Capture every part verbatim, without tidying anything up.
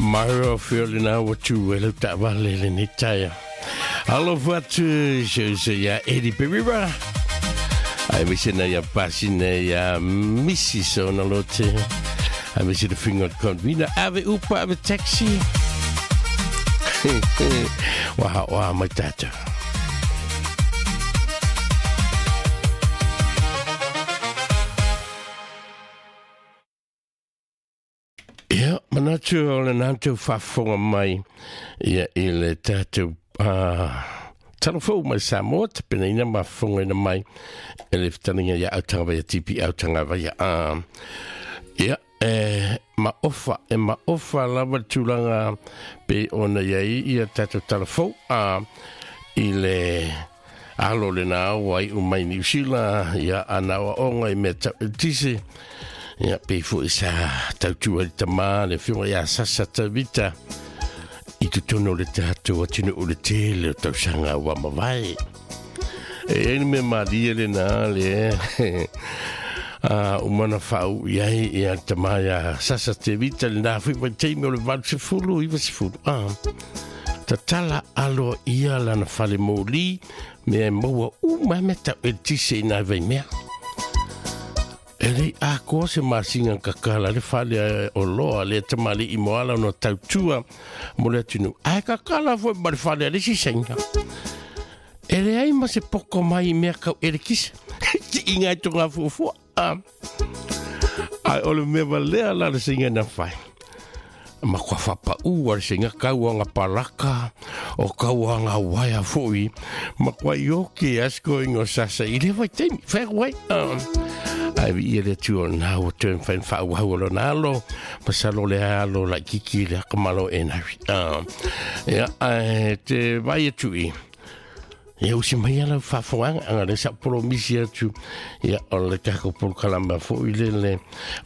Maro whiolina wa tu e lau taavale lenei taeao. Alofa atu si ou uso ia Eddie Perira. Aemaise na ia pasina ia Misi Sona Lote. Aemaise le figa o le convener. Ave upa ave taxi. Ua oa mai tatou. Ia, manatu o le nantou faafofoga mai ia i le tatou uh, talafou mai Samoa, tapenaina mafofogaina mai e le fetaliga ia autagavaia T P autagavaia. Uh, ia, e maofa, e maofa lava le tulaga pe ona iai ia tatou talafou uh, i le alo lena ua iu mai Niu Sila, ia ana oaoga i mea tau eletise. Ia, pe foi sa tautua le tamā le afioga ia Sasa Tavita i totonu o le tatou atunuu o le tele o tausaga ua mavae. E ai le mea malie lena le a umana faau i ai ia le tamā ia Sasa Tavita lena foi vaitaimi o le valu sefulu iva sefulu. Ah, tatala alo ia lana fale moli mea e maua uma mea tau eletise i nai vaimea. E lei akoa se masinga kakala le fale o loa le tamali i moala no tautua mo le atunu. Ae kakala foi ma le fale a le sisenga. E leai ma se poko mai i mea kau elekisa. Ti inga i tonga fuafua. Ai o le mea valea la le singa na whai. Ma kua whapau a le singa kauanga palaka o kauanga waia foi. Ma kua ioke asko ingo sasa i le vai teimi. Whai wai. Ai vi ia le atu o nā ua tuen whain whaauhau o lona alo, masalo le alo lai kiki le akamalo e nari. Ia, ai, te vai atu i. Ia usi mai ala whaafonga, anga le sa polo misi atu, ia o le kako polo kalama fo i le le,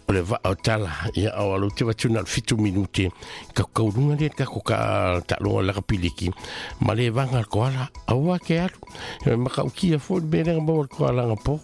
o le vaa o tala, ia o alo te watu na fitu minute, ka kaurunga le kako ka talonga laka piliki, ma le vanga koala, aua ke alu, ia maka ukia fo i merenga maua koala nga po.